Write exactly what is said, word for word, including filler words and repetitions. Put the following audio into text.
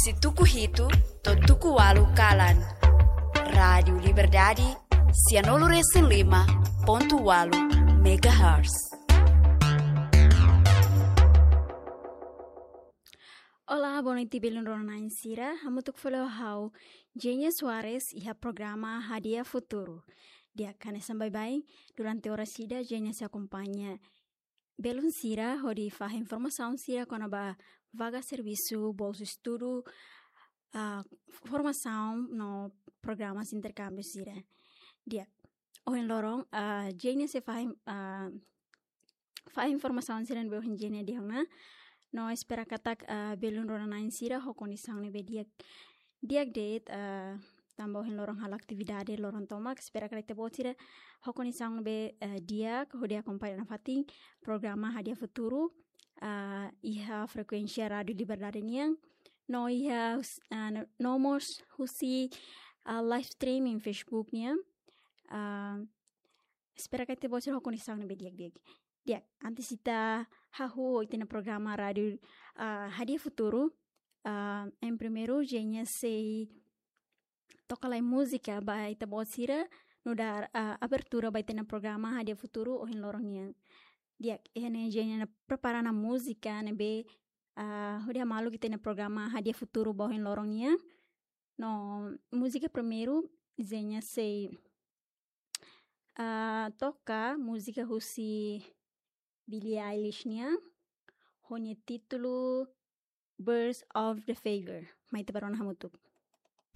Tuku hitu to'o tuku ualu kalan. Rádiu Liberdade, sianulu resin lima pontu ualu megahertz. Olá, boa noite, belun rona-na'in sira. Hamutuk fali ho ha'u, Jenia Soares, iha programa Hadi'a Futuru. Di'ak, hanesan baibain, durante oras ida, Jenia sei akompaña belun sira hodi fahe informasaun sira kona-ba vaga servisu, bolsa estudu, ah, formasaun no programas interkámbiu sira. Di'ak, ohin loron, ah, Jenia sei fahe, ah, fahe informasaun sira ne'ebé ohin Jenia dehan ona. No espera katak, ah, belun rona-na'in sira ho kondisaun ne'ebé di'ak, di'ak de'it, ah, tanba ohin loron halo atividade loron tomak, espera katak ita-boot sira ho kondisaun ne'ebé, eh, di'ak hodi akompaña nafatin programa Hadi'a Futuru, ah, iha frekuénsia Rádiu Liberdade nian. No iha hus-, ah, no, no mós husi, ah, live streaming Facebook nian. Ah, espera katak ita-boot sira ho kondisaun ne'ebé di'ak-di'ak. Di'ak, antes ita hahú ho ita-nia programa rádiu, ah, Hadi'a Futuru, ah, em primeiru, Jenia sei toka lai múzika ba ita-boot sira, nu'udar, ah, abertura ba ita-nia programa Hadi'a Futuru ohin loron nian. Di'ak, iha ne'e Jenia prepara ona múzika ne'ebé, ah, hodi hamaluk ita-nia programa Hadi'a Futuru ba ohin loron nian. No múzika primeiru, Jenia sei, ah, toka múzika husi Billie Eilish nian, ho nia títulu Birds of the Feather. Mai ita bá rona hamutuk.